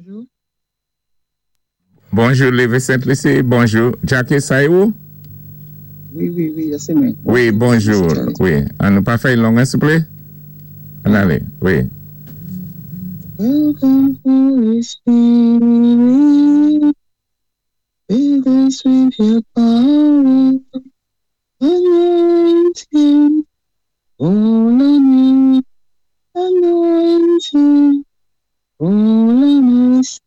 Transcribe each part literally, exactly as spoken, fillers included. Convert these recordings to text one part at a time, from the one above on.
Bonjou. Bonjou, Lévis Sainte-Lucie. Bonjou. Jackie, sa é ou? Wi, wi, wi, sé mwen. Wi, bonjou. Wi. An nou pa fè long, silvouplè? Ann alé, wi. Welcome, Holy Spirit. Fill us with your power. Anointing, fall on you. Anointing, fall on us.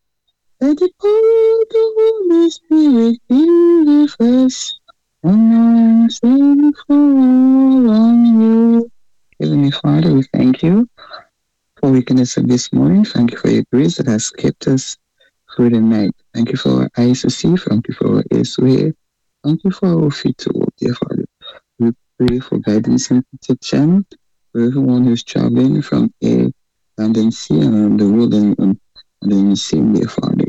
Let the power of the Holy Spirit be with us. Anointing, fall on you. Heavenly Father, we thank you for waking us up this morning. Thank you for your grace that has kept us through the night. Thank you for our eyes to see. Thank you for our ears to hear. Thank you for our feet to walk, dear Father. We pray for guidance and protection for everyone who's traveling from air, land, and sea, and around the world and, and, and in the same, dear Father.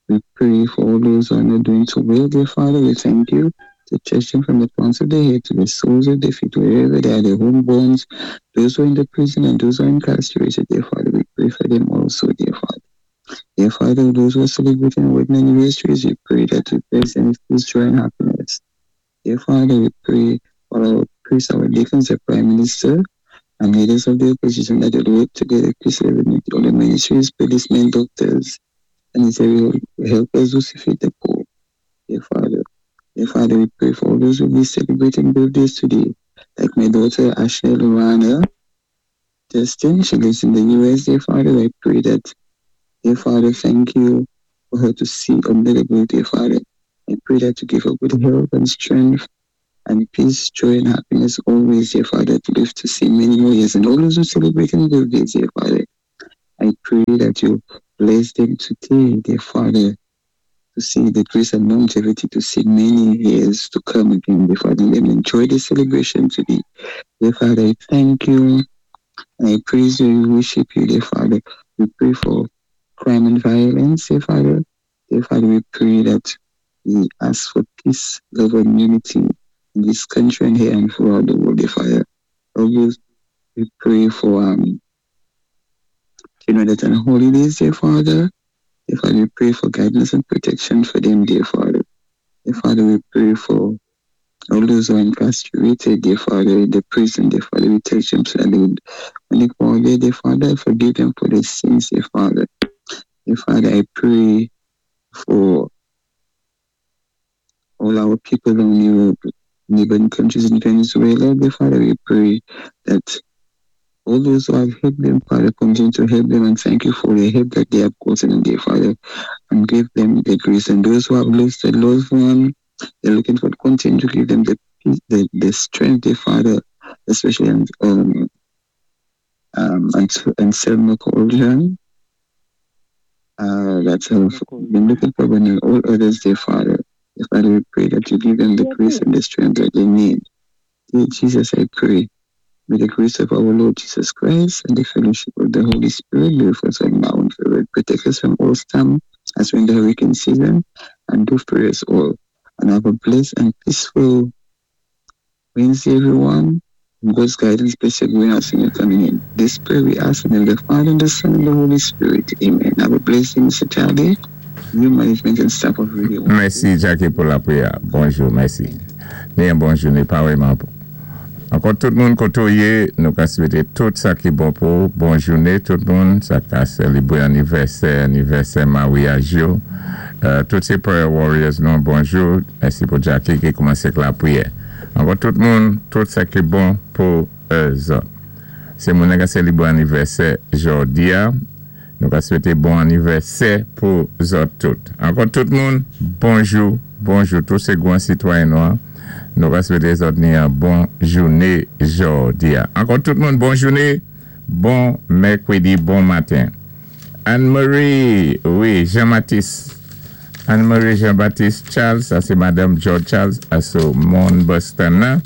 We pray for all those who are not doing so well, dear Father. We thank you to touch them from the crowns of their head to the soles of their feet, wherever they are, the homeborns, those who are in the prison and those who are incarcerated, dear Father. We pray for them also, dear Father. Dear Father, those who are celebrating wedding anniversaries, we pray that you bless them with peace, joy, and happiness. Dear Father, we pray for our priests, our deacons, the Prime Minister, and leaders of the opposition that they work together peacefully with all the ministries, policemen, doctors, and helpers who feed the poor. Dear Father, dear Father, we pray for all those who will be celebrating birthdays today, like my daughter Ashley Luana Justin. She lives in the U S. Dear Father, I pray that, dear Father, thank you for her to see another birthday, Father. I pray that you give her good health and strength and peace, joy, and happiness always, dear Father, to live to see many more years. And all those who celebrating birthdays, dear Father, I pray that you bless them today, dear Father, to see the grace and longevity to see many years to come again, dear Father. Let them enjoy the celebration today. Dear Father, I thank you and I praise you, we worship you, dear Father. We pray for crime and violence, dear Father. Dear Father, we pray that we ask for peace, love, and unity in this country and here and throughout the world, dear Father. Always we pray for um children that are on holidays, dear Father. Dear Father, we pray for guidance and protection for them, dear Father. Dear Father, we pray for all those who are incarcerated, dear Father, in the prison, dear Father, we touch them so that they would, when they go there, dear Father, forgive them for their sins, dear Father. Dear Father, I pray for all our people in Europe, neighboring countries in Venezuela, dear Father, we pray that all those who have helped them, Father, continue to help them and thank you for the help that they have gotten, dear Father, and give them the grace. And those who have lost a loved one, they're looking for continue to give them the peace, the, the strength, dear Father, especially um, um, um, and, and Selma Colgan, uh, that have been looking for one and all others, dear Father. Dear Father, we pray that you give them the grace and the strength that they need. Dear Jesus, I pray. May the grace of our Lord Jesus Christ and the fellowship of the Holy Spirit be with us all now and forever. Protect us from all storm as we're in the hurricane season and do for us all. And have a blessed and peaceful Wednesday, everyone. And God's guidance, bless your going out and your coming in. This prayer we ask in the name of the Father, and the Son, and the Holy Spirit. Amen. Have a blessed day, Mister Charlie, new management and staff of Radio. Mèsi, Jackie, pou lapriyè. Bonjou, mèsi. Ni yon bon jounen, pa vrèman. Ankò tout moun koto ye, nou ka swété tout sa ki bon pou, bon jounen tout moun, sa ka sélébwé anivèsè, anivèsè maryaj yo. Euh, tout sé prayer warriors nou, bonjou. Mèsi pou Jackie ki koumansé ak lapriyè. Ankò tout moun, tout sa ki bon pou zòt. Sé moun ka sélébwé anivèsè jòdi a, nou ka swété bon anivèsè pou zòt tout. Ankò tout moun, bonjou, bonjou, tout sé gwan sitwayen nwa. Nou ka swété zòt ni yon bon jounen jòdi a. Ankò tout moun, bon jounen, bon mèkwédi, bon maten. Anne-Marie, wi, Jean-Baptiste. Anne-Marie Jean-Baptiste Charles, sa sé Madanm George Charles, aso Mon Boston nan.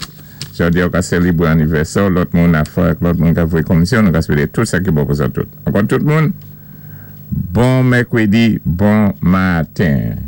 Jòdi a ka sélébwé anivèsè, lòt moun a fè, lòt moun ka voyé komisyon, nou ka swété tout sa ki bon pou zòt tout. Ankò tout moun, bon mèkwédi, bon maten.